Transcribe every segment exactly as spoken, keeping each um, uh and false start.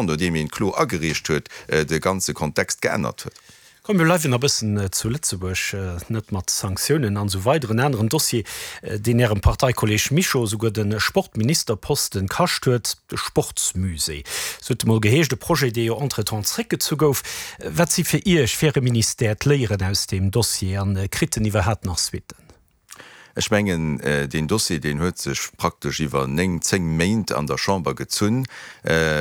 Nodeem een d'Klo agereecht huet, de ganze Kontext geännert huet. Komm mir bleiwen nach bëssen zu Lëtzebuerg, net mat Sanktiounen an esou weider. En aneren Dossier, deen Ärem Parteikolleg Mischo esouguer de Sportministerposten kascht huet, de Sportsmusée, sou huet e mol geheescht, e Projet, dee jo entretemps zréckgezu gouf. Wat si fir Iech, fir Äre Ministère, d'Léieren aus deem Dossier an kritt en iwwerhaapt nach Suitten? Ech mengen, deen Dossier, deen huet sech praktesch iwwer néng, zéng Méint an der Chamber gezunn,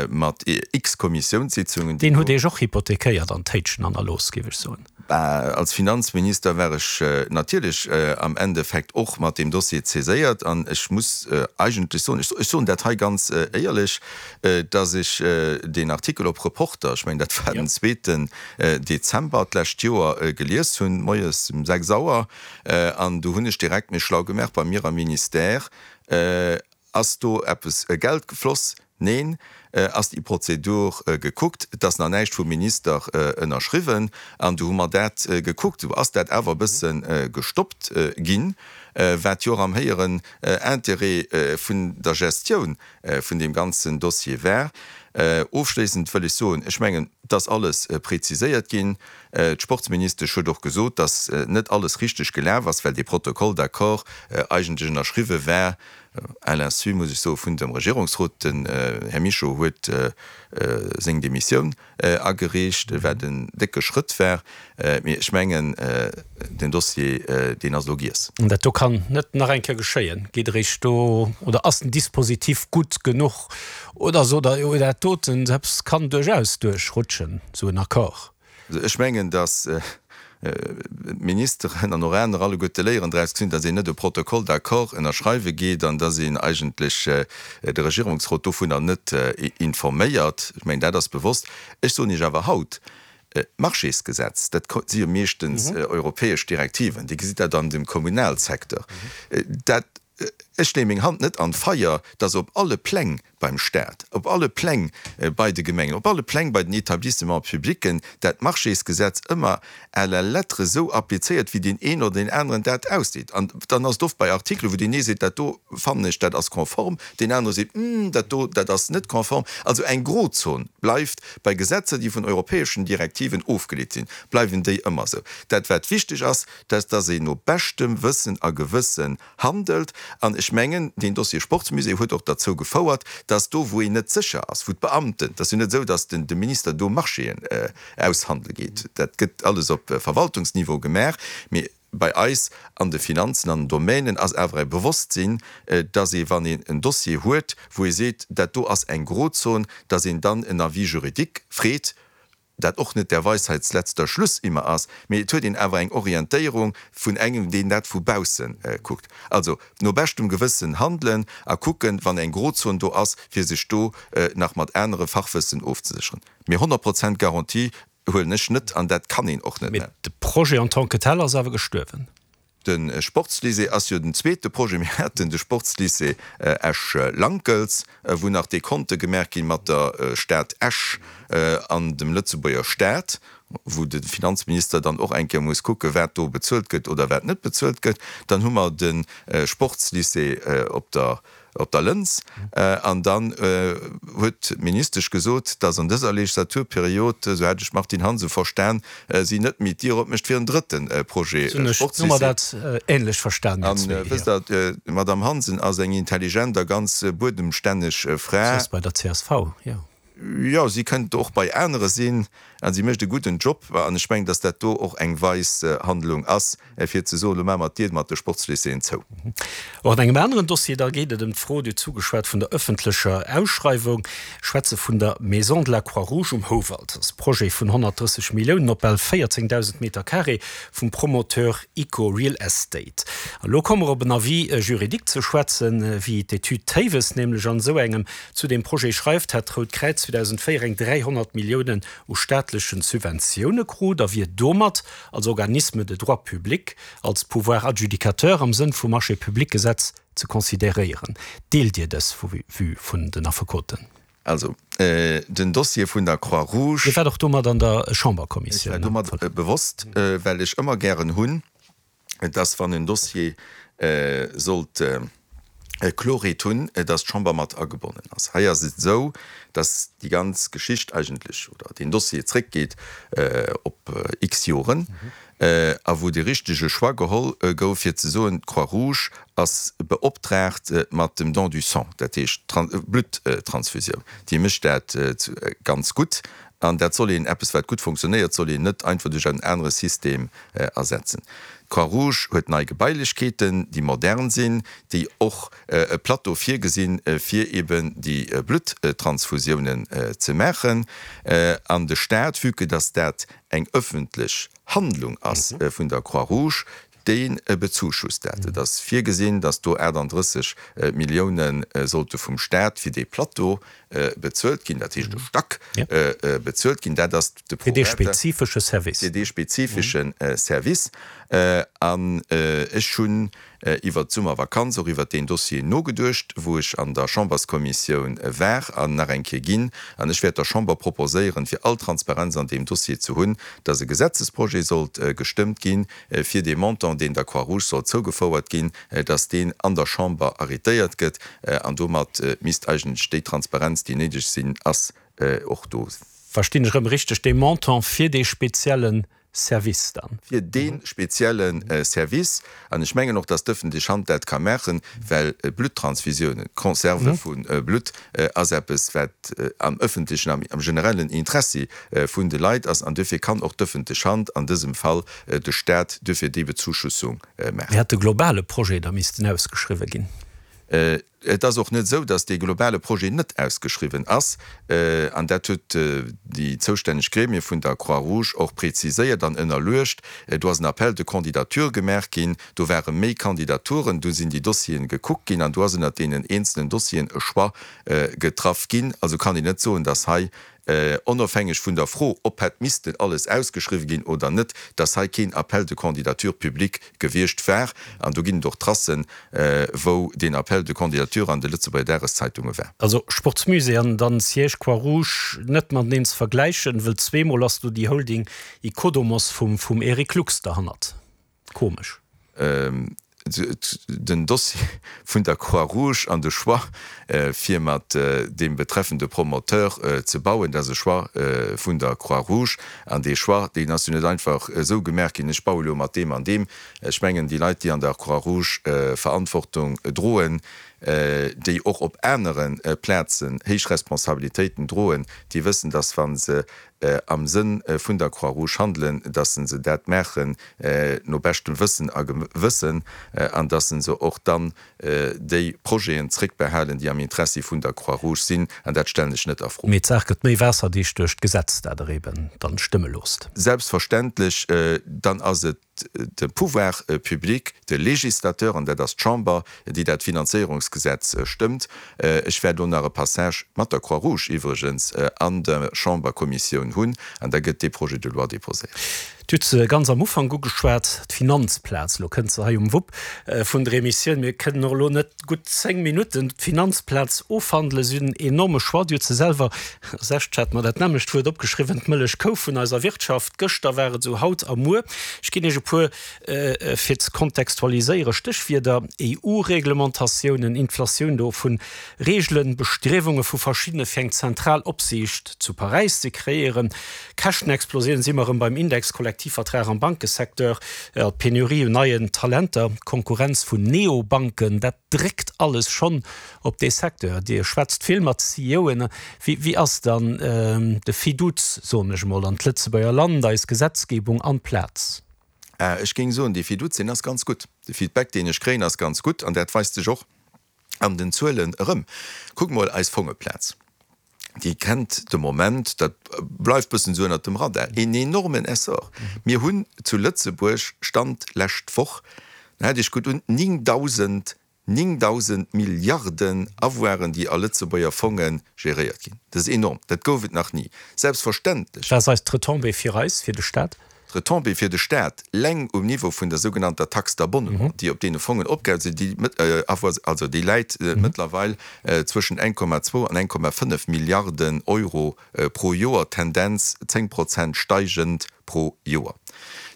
mat x Kommissiounssitzungen. Deen huet Iech och hypothekéiert an Téitschen hannerlooss, géif ech soen. Bah, als Finanzminister war ech natierlech am Endeffekt och mat deem Dossier saiséiert. An ech muss eigentlech soen, ech soen dat hei ganz éierlech, dass ech deen Artikel op Reporter, ech mengen, dat war den zweeten Dezember d'lescht Joer, gelies hunn, moies um sechs Auer. An du hunn ech direkt mech schlau gemaach bei mir am Ministère, Ass do eppes Geld gefloss? Neen. Ass déi Prozedur gekuckt? Et ass nach näischt vum Minister ënnerschriwwen. An du hu mer dat gekuckt. Du ass dat awer e bësse gestoppt ginn, wat jo och am héieren Intérêt vun der Gestioun vun deem ganzen Dossier war. Ofschléissend wëll ech soen, ech mengen, et ass alles preziséiert ginn. D'Sportsministesch huet och gesot, dass net alles richteg gelaf ass, well dee Protocole d'accord eigentlech ënnerschriwwe war, à l'insu, muss ech soen, vun dem Regierungsrot. Den Här Mischo huet seng Demissioun agereecht, wat en décke Schrëtt war. Mee ech mengen, den Dossier, deen ass elo giess. An dat do kann net nach eng Kéier geschéien? Geet eréischt do, oder ass den Dispositif gutt genuch oder sot Der, jo, dat doten selbst kann duerchaus duerchrutschen, esou en Accord? Also ech mengen, datt d'Ministeren an och aner alleguerte Léieren draus gezunn, datt een net e Protocole d'accord ënnerschreiwe geet an datt een eigentlech de Regierungsrot dovunner net informéiert. Ech mengen, dat ass bewosst. Ech soen Iech awer haut, D'Marchésgesetz, dat si jo meeschtens europäesch Direktiven, Dir gesitt dat an dem Kommunalsecteur, dat, ech leeë meng Hand net an d'Feier, datt op alle Pläng beim Stat, op alle Pläng bei de Gemengen, op alle Pläng bei den Établissements publics dat Marchésgesetz ëmmer à la lettre esou applizéiert, wéi deen een oder deen aneren dat ausseet. An dann ass et oft bei Artikelen, wou deen ee seet, dat do fannen ech, dat ass konform, deen anere seet, Hm, dat do, dat ass net konform. Also eng Grozon bleift bei Gesetzer, déi vun europäeschen Direktiven ofgeleet sinn, bleiwen déi ëmmer esou. Dat wat wichteg ass, dat ass, dass een no beschtem Wëssen a Gewëssen handelt. An ech mengen, deen Dossier Sportsmusée huet och derzou gefouert, dass do, wou een net sécher ass, wou d'Beamten, et ass jo net esou, dass den de Minister do Marchéen aushandele geet, dat gëtt alles op Verwaltungsniveau gemaach, mee bei eis an de Finanzen, an den Domänen ass awer e Bewosstsinn, dass ee, wann een en Dossier huet, wou ee seet, dat do ass eng Grozon, dass een dann en Avis juridique freet, dat och net der Weisheits letzter Schluss immer ass, mee et huet een awer eng Orientéierung vun engem, deen dat vu bausse kuckt. Also no beschtem Gewëssen handelen a kucken, wann eng Grozon do ass, fir sech do nach mat anere Fachwëssen ofzesécheren. Mee honnert Prozent Garantie huelen ech net an dat kann een och net. Mee de Projet en tant que tel ass awer gestuerwen. De Sportslycée ass jo den zweete Projet. Mir haten de Sportslycée Esch-Lankels, wou nach Dekonte gemaach gi mat der Stad Esch an dem Lëtzebuerger Staat, wou de Finanzminister dann och eng Kéier muss kucken, wat do bezuelt gëtt oder wat net bezuelt gëtt. Dann hu mer de Sportslycée op der op der Lëns. An dann huet d'Ministesch gesot, datt an dëser Legislaturperiod, esou hat ech d'Martine Hansen verstan, si net méi d'Dier opmécht fir en drëtte Projet Sportslycée. An wësst Der, d'Madame Hansen ass eng intelligent a ganz buedemstänneg Fra. Si ass bei der csv, jo. Jo, si kënnt och bei anere sinn a si mécht e gudden Job. An ech mengen, datt dat do och eng weis Handlung ass, fir ze soen, elo maache mer d'Dier mat de Sportslycéeën zou. Och an engem aneren Dossier, da geet et ëm d'Fro, Dir hutt zugeschwat, vun der ëffentlecher Ausschreiwung. Ech schwätze vun der Maison de la Croix-Rouge um Houwald. Dat ass e Projet vun honnertdrësseg Milliounen op bal véierzéngdausend Meter carré vum Promoteur Ico Real Estate. An elo komme mer op en Avis juridique ze schwätzen, wéi d'Etüd Théiwes nämlech an esou engem zu deem Projet schreift, hätt d'Rout Kräiz zweedausendvéier eng dräihonnert Milliounen u staatlechen Subventioune krut a wier domat als Organisme de droit public, als Pouvoir adjudicateur am Sënn vum Marchés-publics-Gesetz ze consideréieren. Deelt Dir dës Vue vun den Affekoten? Also, den Dossier vun der Croix-Rouge. Dir waart och domat an der Chamberkommissioun. Ech war domat bewosst, well ech ëmmer gären hunn, dass wann en Dossier sollt Klorheet hunn, dass d'Chamber mat agebonnen ass. Hei ass et esou, dass déi ganz Geschicht eigentlech oder deen Dossier zréckgeet op x Joren a wou dee richtege Choix geholl gouf, fir ze soen, d'Croix-Rouge ass beoptraagt mat dem Don du sang, dat heescht Blutttransfusioun. Déi mécht dat ganz gutt an dat soll een, eppes wat gutt funktionéiert, soll een net einfach duerch en anere System ersetzen. D'Croix-Rouge huet nei Gebailechkeeten, déi modern sinn, déi och e Plateau virgesinn, fir eben déi Blutttransfusiounen ze maachen. An de Staat, vue que dass dat eng ëffentlech Handlung ass vun der Croix-Rouge, dee bezuschusst dat. Et ass virgesinn, dass do achtandrësseg Millioune sollte vum Staat fir dee Plateau bezuelt ginn, dat heescht e Stack bezuelt ginn. Dat ass de Fir dee spezifesche Service. Fir dee spezifesche Service. An ech hunn iwwert d'Summervakanz och iwwert deen Dossier nogeduecht, wou ech an der Chamberskommissioun war an nach eng Kéier ginn. An ech wäert der Chamber proposéieren, fir all Transparenz an deem Dossier ze hunn, dass e Gesetzesprojet sollt gestëmmt ginn, fir dee Montant, deen der Croix-Rouge sollt zougefouert ginn, dass deen an der Chamber arrétéiert gëtt. An domat misst eigentlech déi Transparenz, déi néideg sinn, ass, och do sinn. Verstinn ech erëm richteg, dee Montant fir dee spezielle Service dann? Fir dee spezielle Service. An ech mengen och, dass d'ëffentlech Hand dat ka maachen, well Blutttransfusiounen, d'Conserve vu Blutt ass eppes, wat am ëffentlechen, am generellen Interessi vun de Leit ass. An duerfir kann och d'ëffentlech Hand, an dësem Fall de Stat, duerfir déi Bezuschussung maachen. Hätt de globale Projet da missten ausgeschriwwen ginn? Et ass och net esou, datt dee globale Projet net ausgeschriwwen ass. An dat huet déi zoustänneg Gremie vun der Croix-Rouge och preziséiert an ënnerluecht. Do ass en Appel de candidature gemaach ginn. Do ware méi Kandidaturen. Do sinn déi Dossieren gekuckt ginn an do ass ënnert deenen eenzelen Dossieren e Choix getraff ginn. Also kann een net soen, datt hei, onofhängeg vun der Fro, ob hätt missten alles ausgeschriwwen ginn oder net, dass hei keen Appel de candidature public gewiescht war. An do ginn et och Tracen, wou deen Appel de candidature an de Lëtzebuerger Dageszeitunge war. Also Sportsmusée an dann Siège Croix-Rouge net mateneen ze vergläichen, wëll zweemol ass do déi Holding Ecodomos vum vum Eric Lux derhannert. Komesch. Den Dossier vun der Croix-Rouge an de Choix, fir mat deem betreffende Promoteur ze bauen, dat ass e Choix vun der Croix-Rouge. An dee Choix, deen ass jo net einfach esou gemaach ginn, ech baue lo mat deem an deem. Ech mengen, déi Leit, déi an der Croix-Rouge Verantwortung droen, déi och op anere Plazen héich Responsabilitéiten droen, déi wëssen, dass wa se am Sënn vun der Croix-Rouge handelen, dass se dat maachen no beschtem Wëssen a Gewëssen an dass se och dann déi Projeten zréckbehalen, déi am Interessi vun der Croix-Rouge sinn. An dat stellen ech net a Fro. Mee d'Saach gëtt méi waasserdicht duerch d'Gesetz, dat Der eben dann stëmme loosst. Selbstverständlech. Dann ass et de Pouvoir public, de Législateur, an dat ass d'Chamber, déi dat Finanzéierungsgesetz stëmmt. Ech wäert elo nach e Passage, mat der Croix-Rouge iwwregens, an der Chamberkommissioun hunn, an da gëtt dee Projet de loi déposéiert. Dir hutt se ganz am Ufank ugeschwat, d'Finanzplaz. Elo kënnt se hei um Wupp vun der Emissioun. Mir kënnen och elo net gutt zéng Minutten d'Finanzplaz ofhandelen. Si hunn en enorme Choix. Dir hutt se selwer, sech, ech hat mer dat nämmlecht Wuert opgeschriwwen, d'Mëllechkou vun eiser Wirtschaft. Gëschter war et esou, haut a muer. Ech ginn Iech e puer, fir ze kontextualiséieren, Stéchwierder, E U-Reglementatiounen, Inflatioun do vun Reegelen, Bestriewunge vu verschiddene fir eng zentral Opsiicht zu Paräis ze kreéieren, Käschtenexplosioun, si mer erëm beim Index-Kollektivvertrag am Bankesecteur, d'Penurie un neien Talenter, d'Konkurrenz vun Neobanken, dat dréckt alles schonn op dee Secteur. Dir schwätzt vill mat C E Oen. Wéi ass dann de Fiduz, soen ech emol, an d'Lëtzebuerger Land, eis Gesetzgebung an d'Plaz? Ech géing soen, dee Fiduz, deen ass ganz gutt. De Feedback, deen ech kréien, ass ganz gutt an dat weist sech och an den Zuelen erëm. Kuckt mol eis Fongeplaz, déi kennt de Moment, dat bleift bëssen esou ënnert dem Radar, een enormen Essor. Mir hunn zu Lëtzebuerg, Stand lescht Woch, haalt Iech gutt un, néngdausend, néngdausend Milliarden Avoiren, déi a Lëtzebuerger Fonge geréiert ginn. Dat ass enorm, dat gouf et nach ni. Selbstverständlech. Wat ass eis d'Retombée fir eis, fir de Staat? D'Retombée fir de Staat leng um Niveau vun der sougenannter Taxe d'abonnement, déi op deene Fongen opgeheit sinn, déi also déi läit mëttlerweil zwëschen eng Komma zwou an eng Komma fënnef Milliarden Euro pro Joer, Tendenz zéng Prozent steigend pro Joer.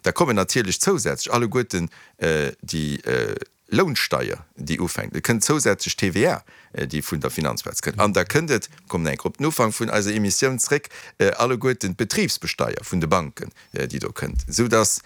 Da kommen natierlech zousätzlech alleguerten déi Lounsteier, déi ufänkt, et kënnt zousätzlech T V A, déi vun der Finanzplaz kënnt, an da kënnt et, kommen eng Kéier op den Ufank vun eiser Emissioun zréck, alleguerten d'Betribsbesteier vun de Banken, déi do kënnt, soudass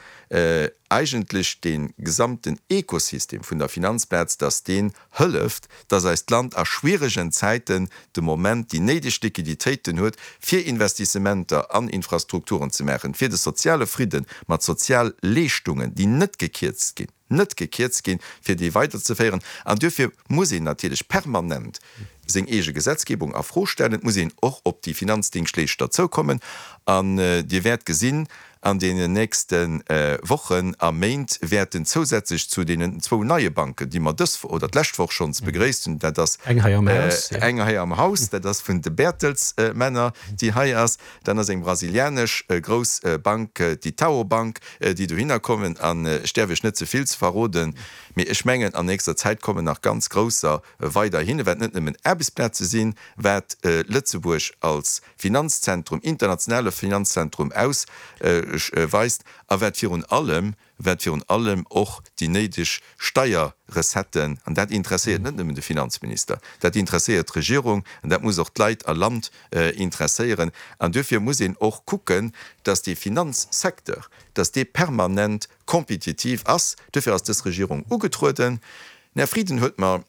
eigentlech dee gesamten Ekosystem vun der Finanzplaz, dass deen hëlleft, dass eist Land a schwieregen Zäiten de Moment déi néideg Liquiditéiten huet, fir Investissementer an Infrastrukturen ze maachen, fir de soziale Fridde mat Sozialleeschtungen, déi net gekierzt ginn, net gekierzt ginn, fir déi weiderzeféieren. An duerfir muss een natierlech permanent seng eege Gesetzgebung a Fro stellen. Et muss een och op déi Finanzdingschtleeschter zoukommen. An Dir wäert gesinn, an deenen nächste Wochen a Méint wäerten zousätzlech zu deenen zwou neie Banken, déi mer dës oder d'lescht Woch schonns begréisst hunn, dat ass eng hei am Haus, eng hei am Haus, dat ass vun de Bertelsmänner, déi hei ass, dann ass eng brasilianesch grouss Bank, d'Itaú Bank, déi dohinner kommen. An ech däerf Iech net ze vill ze verroden, mee ech mengen, an nächster Zäit kommen nach ganz grousser weiderhin, wat net nëmmen Aarbechtsplaze sinn, wat Lëtzebuerg als Finanzzentrum, internationale Finanzzentrum ausweist a wat virun allem, wat virun allem och déi néideg Steierrecetten, an dat interesséiert net nëmmen de Finanzminister, dat interesséiert d'Regierung an dat muss och d'Leit a Land interesséieren. An duerfir muss een och kucken, dass dee Finanzsecteur, dass dee permanent kompetitiv ass. Duerfir ass dës Regierung ugetrueden. Den Här Frieden huet mer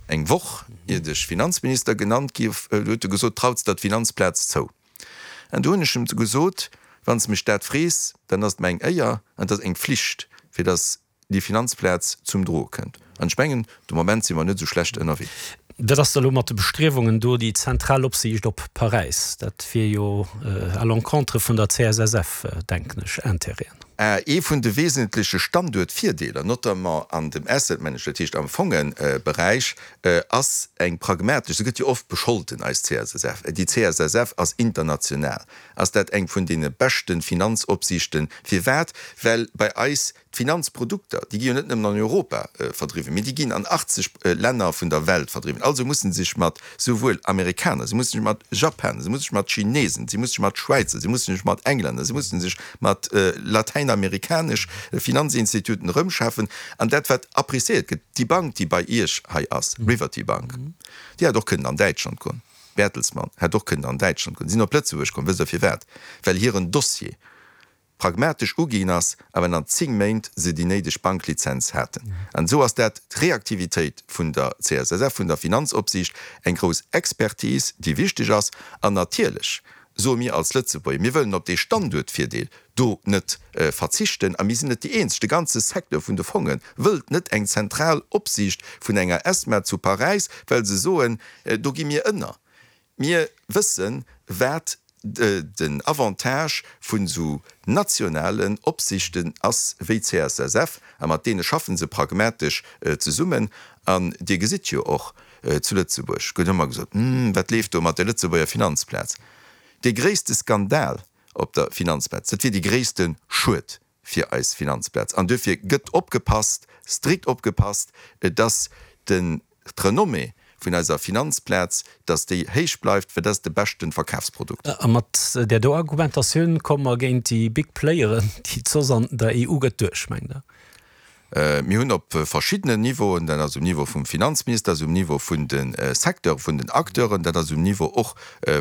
eng Woch, iert ech Finanzminister genannt gi, huet e gesot, Traus der d'Finanzplaz zou? An do hunn ech em gesot, Wann s de mech dat frees, dann ass et mer eng Éier an et ass eng Pflicht, fir datt déi Finanzplaz zum Droe kënnt. An ech mengen, de Moment si mer net esou schlecht ënnerwee. Wat ass da elo mat de Bestriewungen do, déi zentral Opsiicht op Paräis? Dat wier jo à l'encontre vun der C S S F, denken ech, Intérêten. Ee vun de wesentleche Standuertvirdeeler, notamment an dem Asset Management, dat heescht am Fongeberäich, ass eng pragmatesch, se gëtt jo oft bescholten, eis C S S F, déi C S S F ass international, ass dat eng vun deene beschte Finanzopsiichten. Firwat? Well bei eis d'Finanzprodukter, déi gi jo net nëmmen an Europa verdriwwen, mee déi ginn an achtzeg Länner vun der Welt verdriwwen. Also mussen se sech mat souwuel Amerikaner, se musse sech mat Japaner, se musse sech mat Chinesen, se musse sech mat Schwäizer, se musse sech mat Englänner, se musse sech mat latäinamerikanesch Finanzinstituten erëmschafen. An dat wat appréciéiert gëtt, déi Bank, déi bei Iech hei ass, Riverty Bank, déi hätt och kënnen an Däitschland goen, Bertelsmann hätt och kënnen an Däitschland goen, si sinn op Lëtzebuerg komm. Wësst Der firwat? Well hiren Dossier pragmatesch uginn ass a well an zéng Méint se déi néideg Banklizenz haten. An esou ass dat d'Reaktivitéit vun der C S S F, vun der Finanzopsiicht, eng grouss Expertise, déi wichteg ass. An natierlech soe mir als Lëtzebuerger, mir wëllen op dee Standuertvirdeel do net verzichten. A mir sinn net déi Eenzeg, de ganze Secteur vun de Fonge wëllt net eng zentral Opsiicht vun enger ESMA zu Paräis, well se soen, do gi mir ënner. Mir wëssen, wat den Avantage vun esou nationalen Opsichten ass wéi d'C S S F, a mat deene schaffe se pragmatesch zesummen. An Dir gesitt jo och, zu Lëtzebuerg gëtt ëmmer gesot, Hm, wat leeft do mat der Lëtzebuerger Finanzplaz? Dee gréisste Skandal op der Finanzplaz, dat wier dee gréisste Schued fir eis Finanzplaz. An duerfir gëtt opgepasst, strikt opgepasst, dass den d'Renommée vun eiser Finanzplaz, dass déi héich bleift, well dat ass de beschten Verkafsprodukt. A mat där do Argumentatioun komme mer géint déi big Playeren, déi et soss an der E U gëtt, duerch, mengt Der? Mir hunn op verschiddenen Niveauen, dat ass um Niveau vum Finanzminister, dat ass um Niveau vun de Secteure vun den Acteuren, dat ass um Niveau och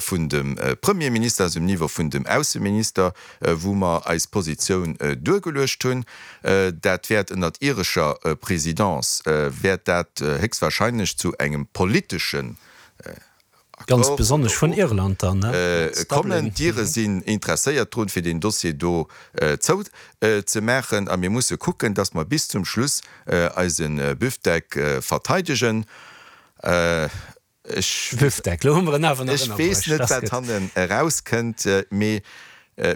vun dem Premierminister, dat ass um Niveau vun dem Ausseminister, wou mer eis Positioun duergeluecht hunn. Dat wäert ënnert irescher Présidence wäert dat héchstwahrscheinlech zu engem politeschen Ganz Accord besonnesch vun Irland dann, ne? kommen. Dublin. D'Ire sinn interesséiert drun, fir deen Dossier do zou ze maachen. A mir musse kucken, datt mer bis zum Schluss eise Büfdeck verteidegen. Ech Büfdeck, lo hu mer en awer nach ech weess ënnerbruecht, net, dat wat gëtt. hannen erauskënnt, mee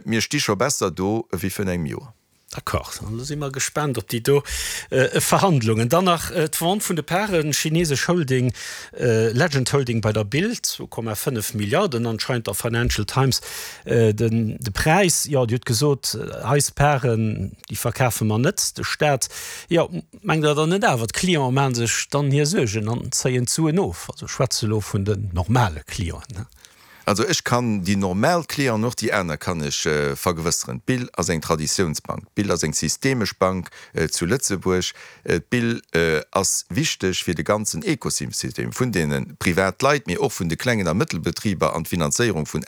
mir sti scho besser do wéi virun engem Joer. D'accord, dann elo si mer gespaant op déi do Verhandlungen. Dann nach d'Vente vun de Paren, chinesesch Holding Legend Holding bei der Bild, zwou Komma fënnef Milliarden anscheinend der Financial Times den de Präis. Jo, Dir hutt gesot, eis Paren, déi verkafe mer net, de Staat. Jo, mengt Der dann net awer, d'Clienten maache sech dann hir Suergen an zéien d'Suen of? Also ech schwätze elo vun den normale Clienten. Also ech kann déi normal Clienten, och déi aner kann ech äh, vergewësseren. D'Bill ass eng Traditiounsbank. D'Bill ass eng systemesch Bank äh, zu Lëtzebuerg. Äh, D'Bill äh, ass wichteg fir de ganzen Ekosystem vun deene Privatleit, mee och vun de klengen a Mëttelbetriber an d'Finanzéierung vun